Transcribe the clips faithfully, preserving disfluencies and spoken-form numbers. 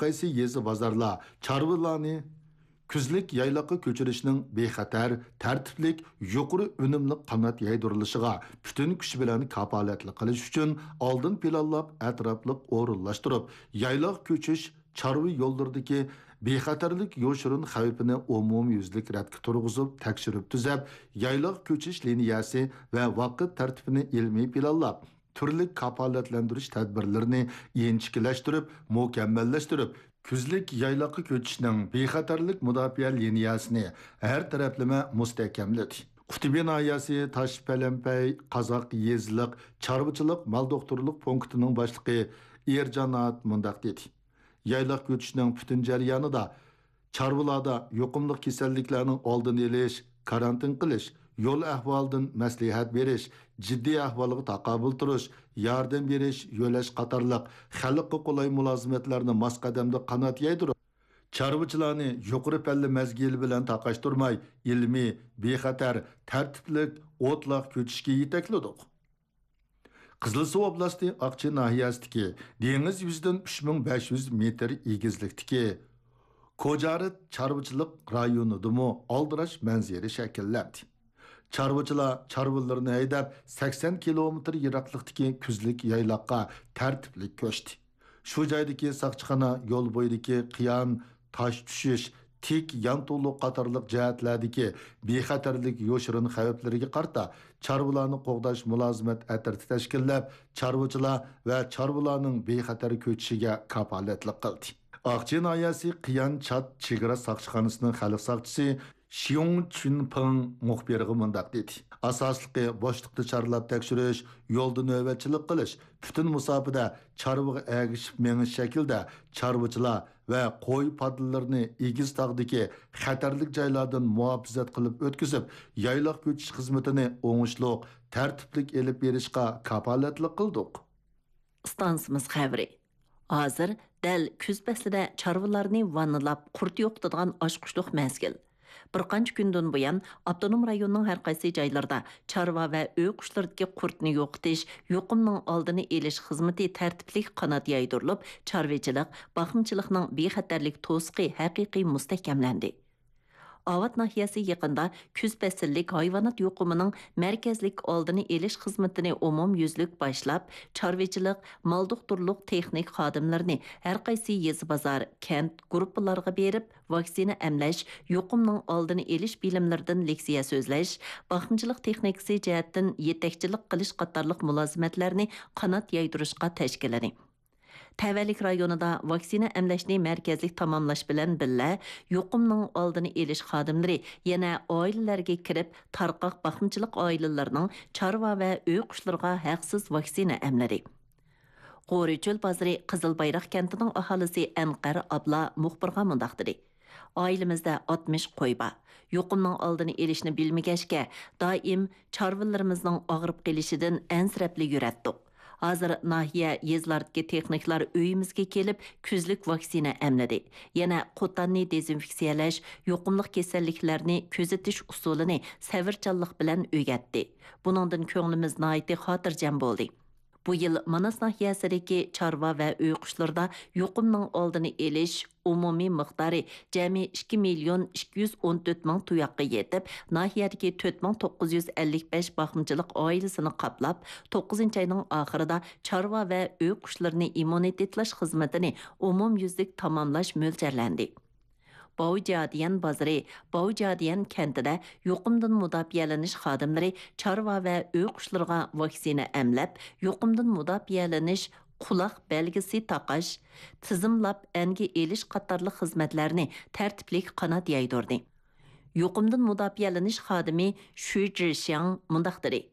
قايسى يېزا بازارلار چارۋىلارنى كۈزلۈك يايلاققا كۆچۈرۈشنىڭ بىخەتەر، تەرتىپلىك، يۇقىرى ئۈنۈملۈك قانات يايدۇرۇلۇشىغا پۈتۈن كۈچ بىلەن كاپالەتلىك قىلىش ئۈچۈن ئالدىن پىلانلاپ، ئەتراپلىق ئورۇنلاشتۇرۇپ، يايلاق كۆچۈش، چارۋا يوللىرىدىكى بىخەتەرلىك يوشۇرۇن خەۋپىنى ئومۇميۈزلۈك رەتكە تۇرغۇزۇپ، تەكشۈرۈپ تۈزەپ، يايلاق كۆچۈش لىنىيەسى ۋە ۋاقىت تەرتىپىنى ئىلمىي پىلانلاپ، تۈرلۈك كاپالەتلەندۈرۈش تەدبىرلىرىنى ئىنچىكىلەشتۈرۈپ، مۇكەممەللەشتۈرۈپ، كۈزلۈك يايلاققا كۆچۈشنىڭ بىخەتەرلىك مۇداپىئە لىنىيەسىنى ھەر تەرەپلىمە مۇستەھكەملىدى. قۇتۇبى ناھىيەسى تاشپەلەمپەي قازاق يېزىلىق چارۋىچىلىق مال دوختۇرلۇق پونكىتىنىڭ باشلىقى ئېرجانات مۇنداق دېدى: يايلاق كۆچۈشنىڭ پۈتۈن جەريانىدا چارۋىلاردا يۇقۇملۇق كېسەللىكلەرنىڭ ئالدىنى ئېلىش، كارانتىن قىلىش، يول ئەھۋالىدىن مەسلىھەت بېرىش، جىددىي ئەھۋالغا تاقابىل تۇرۇش، ياردەم بېرىش، يۆلەش قاتارلىق خەلققە قولاي مۇلازىمەتلەرنى ماس قەدەمدە قانات يايدۇرۇپ، چارۋىچىلارنى يۇقىرى پەللە مەزگىلى بىلەن تاقاشتۇرماي، ئىلمىي، بىخەتەر، تەرتىپلىك، ئوتلاق كۆچۈشكە يېتەكلىدۇق. قىزىلسۇ ئوبلاستى ئاقچى ناھىيەسىدىكى دېڭىز يۈزىدىن ئۈچ مىڭ بەش يۈز مېتىر ئېگىزلىكتىكى كوجارىت چارۋىچىلىق رايونىدىمۇ ئالدىراش مەنزىرە شەكىللەندى. چارۋىچىلار چارۋىلىرىنى ھەيدەپ، سەكسەن كىلومېتىر يىراقلىقتىكى كۈزلۈك يايلاققا تەرتىپلىك كۆچتى. شۇ جايدىكى ساقچىخانا يول بويىدىكى قىيان، تاش چۈشۈش، تىك يانتۇلۇق قاتارلىق جەھەتلەردىكى بىخەتەرلىك يوشۇرۇن خەۋپلىرىگە قارىتا، چارۋىلارنى قوغداش مۇلازىمەت ئەترىتى تەشكىللەپ، چارۋىچىلار ۋە چارۋىلارنىڭ بىخەتەر كۆچۈشىگە كاپالەتلىك قىلدى. ئاقچى ناھىيەسى قىيان چات چېگرا ساقچىخانىسىنىڭ خەلق ساقچىسى شيۇڭ چۈنپىڭ مۇخبىرغا مۇنداق دېدى: ئاساسلىقى بوشلۇقتا چارلاپ تەكشۈرۈش، يولدا نۆۋەتچىلىك قىلىش، پۈتۈن مۇساپىدە چارۋىغا ئەگىشىپ مېڭىش شەكلىدە چارۋىچىلار ۋە قوي پادىلىرىنى ئېگىز تاغدىكى خەتەرلىك جايلاردىن مۇھاپىزەت قىلىپ ئۆتكۈزۈپ، يايلاق كۆچۈش خىزمىتىنى ئوڭۇشلۇق، تەرتىپلىك ئېلىپ بېرىشقا كاپالەتلىك قىلدۇق. ئىستانسىمىز خەۋىرى. ھازىر دەل كۈز پەسلىدە چارۋىلارنى ۋاننىلاپ قۇرت يوقىتىدىغان ئاچقۇچلۇق مەزگىل. بىر قانچە كۈندىن بۇيان، ئاپتونوم رايوننىڭ ھەر قايسى جايلىرىدا چارۋا ۋە ئۆي قۇشلىرىدىكى قۇرتنى يوقىتىش، يۇقۇمنىڭ ئالدىنى ئېلىش خىزمىتى تەرتىپلىك قانات يايدۇرۇلۇپ، چارۋىچىلىق، باقمىچىلىقنىڭ بىخەتەرلىك توسۇقى ھەقىقىي مۇستەھكەملەندى. ئاۋات ناھىيەسى يېقىندا كۈز پەسىللىك ھايۋانات يۇقۇمىنىڭ مەركەزلىك ئالدىنى ئېلىش خىزمىتىنى ئومۇميۈزلۈك باشلاپ، چارۋىچىلىق، مال دوختۇرلۇق تېخنىك خادىملىرىنى ھەر قايسى يېزا، بازار، كەنت، گۇرۇپپىلارغا بېرىپ، ۋاكسىنا ئەملەش، يۇقۇمنىڭ ئالدىنى ئېلىش بىلىملىرىدىن لېكسىيە سۆزلەش، باقمىچىلىق تېخنىكىسى جەھەتتىن يېتەكچىلىك قىلىش قاتارلىق مۇلازىمەتلەرنى قانات يايدۇرۇشقا تەشكىللىدى. تەۋەلىك رايونىدا ۋاكسىنا ئەملەشنى مەركەزلىك تاماملاش بىلەن بىللە، يۇقۇمنىڭ ئالدىنى ئېلىش خادىملىرى يەنە ئائىلىلەرگە كىرىپ، تارقاق باقمىچىلىق ئائىلىلىرىنىڭ چارۋا ۋە ئۆي قۇشلىرىغا ھەقسىز ۋاكسىنا ئەملىدى. غورى چۆل بازىرى قىزىل بايراق كەنتىنىڭ ئاھالىسى ئەنقەر ئابلا مۇخبىرغا مۇنداق دېدى: ئائىلىمىزدە ئاتمىش قوي بار. يۇقۇمنىڭ ئالدىنى ئېلىشنى بىلمىگەچكە، دائىم چارۋىلىرىمىزنىڭ ئاغرىپ قېلىشىدىن ئەنسىرەپلا يۈرەتتۇق. ھازىر ناھىيە، يېزىلاردىكى تېخنىكلار ئۆيىمىزگە كېلىپ، كۈزلۈك ۋاكسىنا ئەملىدى. يەنە قوتاننى دېزىنفېكسىيەلەش، يۇقۇملۇق كېسەللىكلەرنى كۆزىتىش ئۇسۇلىنى سەۋرچانلىق بىلەن ئۆگەتتى. بۇنىڭدىن كۆڭلىمىز ناھايىتى خاتىرجەم بولدى. بۇ يىل ماناس ناھىيەسىدىكى چارۋا ۋە ئۆي قۇشلىرىدا يۇقۇمنىڭ ئالدىنى ئېلىش ئومۇمىي مىقدارى جەمئىي ئىككى مىليون ئىككى يۈز ئون تۆت مىڭ تۇياققا يېتىپ، ناھىيەدىكى تۆت مىڭ توققۇز يۈز ئەللىك بەش باقمىچىلىق ئائىلىسىنى قاپلاپ، توققۇزىنچى ئاينىڭ ئاخىرىدا چارۋا ۋە ئۆي قۇشلىرىنى ئىممۇنىتېتلاش خىزمىتىنى ئومۇميۈزلۈك تاماملاش مۆلچەرلەندى. باۋجيادىيەن بازىرى، باۋجيادىيەن كەنتىدە يۇقۇمدىن مۇداپىئەلىنىش خادىملىرى چارۋا ۋە ئۆي قۇشلىرىغا ۋاكسىنا ئەملەپ، يۇقۇمدىن مۇداپىئەلىنىش، قۇلاق بەلگىسى تاقاش، تىزىملاپ ئەنگە ئېلىش قاتارلىق خىزمەتلەرنى تەرتىپلىك قانات يايدۇردى. يۇقۇمدىن مۇداپىئەلىنىش خادىمى شۈ جىشياڭ مۇنداق دېدى: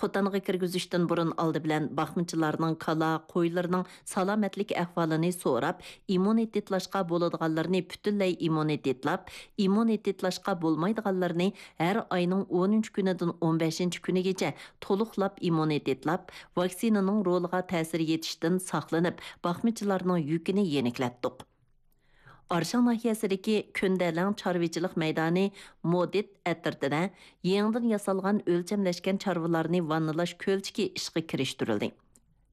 قوتانغا كىرگۈزۈشتىن بۇرۇن ئالدى بىلەن باقمىچىلارنىڭ كالا، قويلىرىنىڭ سالامەتلىك ئەھۋالىنى سوراپ، ئىممۇنىتېتلاشقا بولىدىغانلىرىنى پۈتۈنلەي ئىممۇنىتېتلاپ، ئىممۇنىتېتلاشقا بولمايدىغانلىرىنى ھەر ئاينىڭ ئونىنچى كۈنىدىن ئون بەشىنچى كۈنىگىچە تولۇقلاپ ئىممۇنىتېتلاپ، ۋاكسىنىنىڭ رولىغا تەسىر يېتىشتىن ساقلىنىپ، باقمىچىلارنىڭ يۈكىنى يېنىكلەتتۇق. ئارشاڭ ناھىيەسىدىكى كۆندەلەڭ چارۋىچىلىق مەيدانى مودىت ئەترىتىدە يېڭىدىن ياسالغان ئۆلچەملەشكەن چارۋىلارنى ۋاننىلاش كۆلچىكى ئىشقا كىرىشتۈرۈلدى.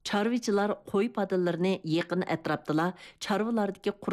چارۋىچىلار قوي پادىلىرىنى يېقىن ئەتراپتىلا چارۋىلاردىكى قۇرت